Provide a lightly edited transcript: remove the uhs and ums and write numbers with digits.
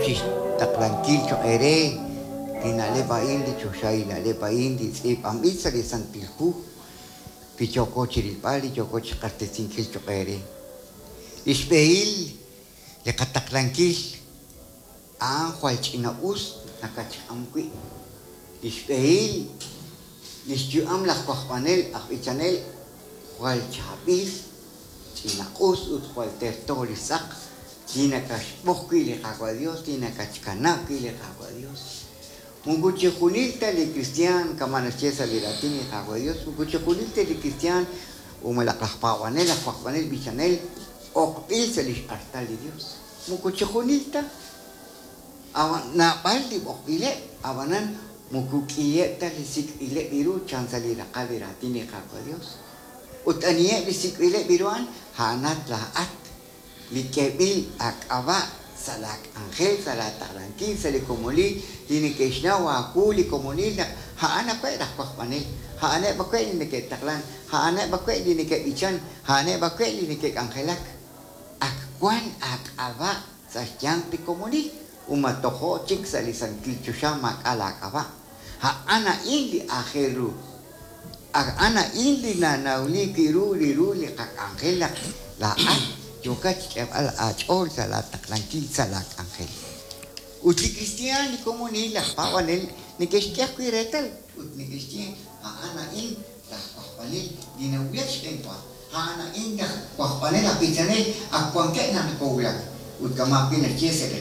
chixtaqlankil choq' eere li na'leb' a'in, li choxahil na'leb' a'in, li tz'iib'anb'il sa' li Santil Hu, li yooko chirilb'al, li yooko chiq'axtesinkil choq' eere. Lix b'ehil li qataqlankil a'an jwal ch'ina-us nakatxk'am wi'. Lix b'ehil lix yu'am laj wajb'anel aj b'ichanel jwal chaab'il, ch'ina-us ut jwal terto lix tz'aq li nakaxb'oq wi' li Qaawa' Dios, li nakatxkanab' wi' li Qaawa' Dios. Moko chixjunil ta li kristiaan, kama' naxye sa' li raatin li Qaawa' Dios, moko chixjunil ta li kristiaan o malaj laj paab'anel, laj wajb'anel b'ichanel b'oqb'il sa' lix artal li Dios. Moko chixjunil ta. Naab'al li b'oqb'ileb', ab'anan moko k'iheb' ta li sik'b'ileb' ru chan sa' li raqal li raatin li Qaawa' Dios. Ut aniheb' li sik'b'ileb' ru a'an? A'anat laa'at li k'eeb'il aak'ab'a' sa' laa k'anjel, sa' laa taqlankil, sa' li komonil li neke'xnaw aawu li komonil naq a'an awe' laj wajb'anel, a'aneb' awe' li neke'taqlan, a'aneb' awe' li neke'b'ichan, a'aneb' awe' li neke'k'anjelak. Ak wan aak'ab'a' sa' xyanq li komonil ut ma tojo' chik sa' li santil choxa maak'a' laak'ab'a'. A'an a'in li aajel ru. A'an a'in li nanawliik wi' ru li ru li qak'anjel naq laa'at yookat xk'eeb'al aach'ool sa' laa taqlankil sa' laa k'anjel. Ut li kristiaan, li komonil, laj paab'anel neke'xk'e ajwi' reetal ut neke'xye a'an a'in laj wajb'anel li nawulak xb'eenwa, a'an a'in laj wajb'anel aj b'ichanel ak wankeb' naq nokowulak. Ut kama' ajwi' naxye sa' li.